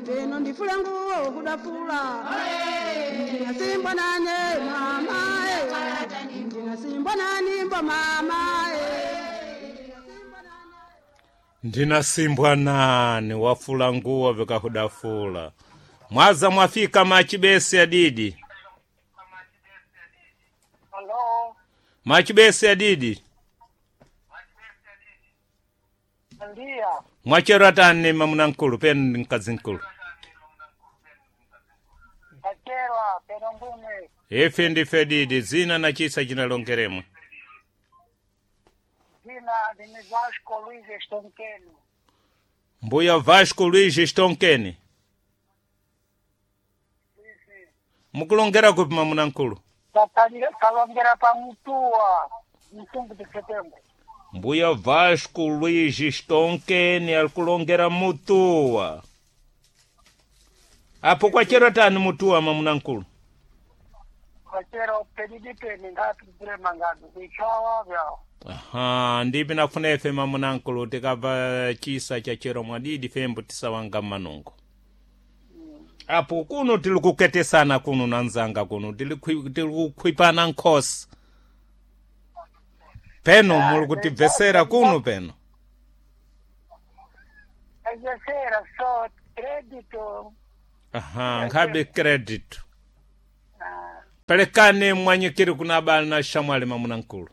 Peno ndifule nguo kudafula. Ndinasimbwa nane mama eh. Ndinasimbwa nani mbo mama eh. Ndinasimbwa nani wafula nguo vikahudafula. Mwaza mwafika machibesi adidi. Halo, Machibesi adidi. ndia Mwachero atani mamuna nkulu penu mkazi nkulu. acherwa peno ngumwe Ife ndife didi zina na chisa chinalongeremwe. zina ndini Vasco Luiz Estonkeno. Mbuya Vasco Luiz Stonkeni. Mukulongera kupi mamuna nkulu? Kalongera pa Mutua msungu de Setembro. Mbuya Vasco Luiz Stonkeni alikulongera Mutua. Apo kwachero tani Mutua mamuna nkulu? Kwachero pedidi peni ngati kulema ngati kuichawa vyao. Aha, ndipi nafuna ife mamuna nkulu tikabva chisa cha chero mwadidi fembo tisawanga manungo. Apo kuno tili kuketesana kuno na nzanga kuno tili kukhwipana nkhosi. Peno muli kutibvesera kuno peno. Ajesera so credito. Aha, nkhabe credit. Pelekane mwanyikiri kuna abale na shamwali mamuna nkulu.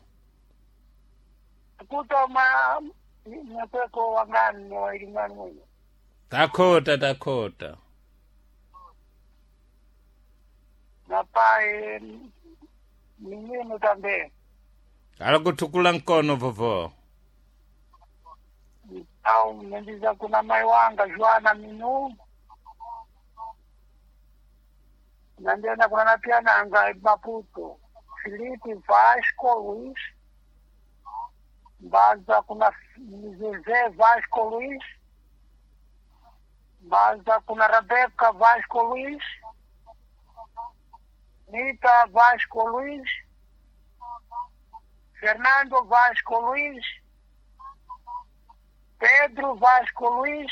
Kutoma nyakweko wangani wailingani mwino. Takhota takhota. Na pai minino também. Alikutukula nkono vovo. Au nendiza kuna mai wanga Joana Minu. Nandena kuna na pia nanga Maputo. Felipe Vasco Luiz. Mbaza kuna Zezé Vasco Luiz. Mbaza kuna Rebeca Vasco Luiz. Nita Vasco Luiz. Fernando Vasco Luiz. Pedro Vasco Luiz,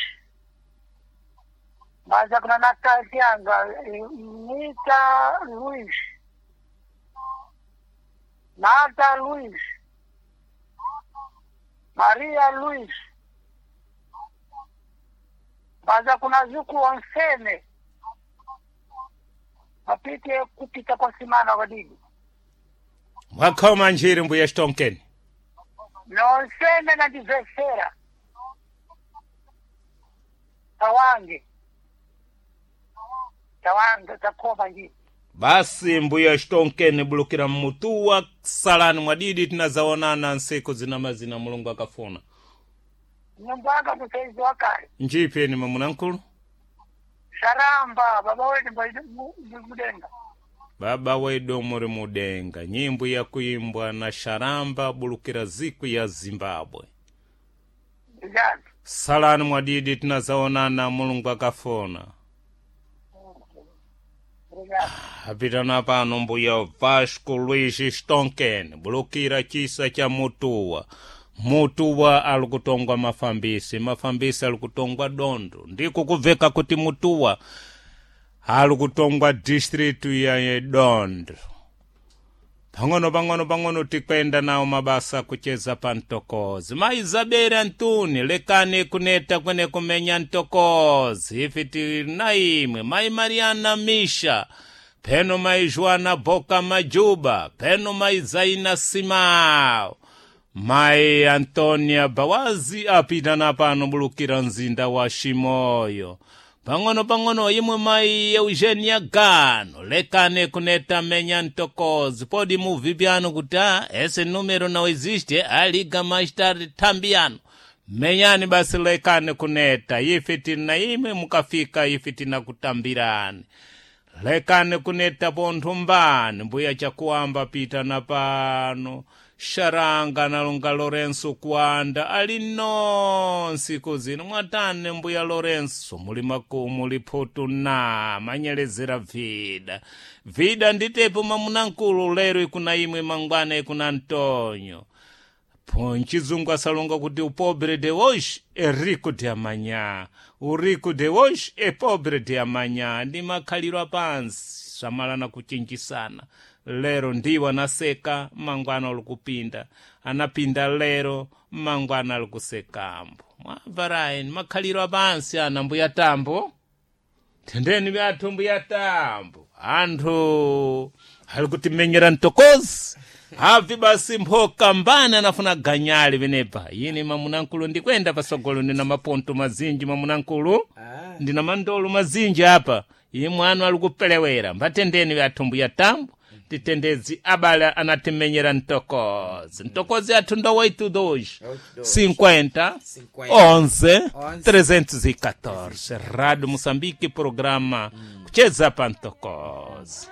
mas a Natazianga, Nita Luiz, Marta Luiz, Maria Luiz, mas a Kunazuku Onsene, mapite kupita kwa simana wadidi Mwakhoma njiri mbuya Stonkeni. nonsene nandivesera tawange tawange takoma njiri Basi mbuya Stonkeni bulukira mmutuwa salani mwadidi tinazaonana nsiku zina mazina Mulungu akafuna. nyumba anga musaizi wakale Njipeni mamuna nkulu. sharamba baba wedu mudenga Baba wedu muri mudenga nyimbo ya kuimbwa na Sharamba bulukira ziku ya Zimbabwe. ndijani Salani mwadidi tinazaonana Mulungu akafuna. ndijani Apitana pano mbuya Vasco Luiz Stonken bulukira chisa cha Mutuwa. Mutuwa alikutongwa mafambisi, mafambisi alikutongwa dondo. Ndiko kubveka kuti Mutuwa alikutongwa district ya Dondo. Pang'ono pang'ono pang'ono tikwenda nawo mabasa kucheza pa ntokozi. Maizabeli Antuni lekani kuneta kwene kumenya ntokozi. Ife tili na imwe mai Mariana Misha peno mai Joana Boka Majuba peno mai Zaina Simao mai Antonia Bawazi apita na pano bulukira mzinda wa Shimoyo. Pang'ono pang'ono imwe mai Eugenia Gano lekane kuneta menya ntokozi podi muvi pyano kuti ah, esse número não existe aliga mais tarde tambiano menyani basi lekane kuneta ife tina imwe mukafika ife tinakutambirani lekane kuneta pontho mbani mbuya chakuamba pita na pano sharanga nalonga Lorenso kuanda ali nonsiku zino mwatane mbuya Lorenso muli makumu liphutu na manyelezera vida vida nditepo mamunankulu lero ikuna imwe mangwana ikuna Antonio. Nchizungu asalonga kuti o pobre de hoje é rico de amanhã, o rico de hoje é pobre de amanhã. Ndi makhaliro apansi samalana kuchinjisana. Lero ndiwo anaseka, mangwana alikupinda, anapinda lero, mangwana alikusekambo. Mwamva ni makhaliro apansi ana mbuya tambo. Tendeni vyathu mbuya tambo, anthu ali kutimenyera mtokozi havi basi mphoka mbani anafuna ganyali venepa. Yini mamunankulu ndikwenda pasogolo, ndina maponto mazinji mamunankulu, ndina mandolo mazinji apa. Iye mwana ali kupelewera. Mbatendeni vyathu mbuya tambo, titendezi abale anatimenyera mtokozi. Mtokozi athu ndo 82 50 11 314. Rádio Moçambique, programa Kucheza pa Mtokozi.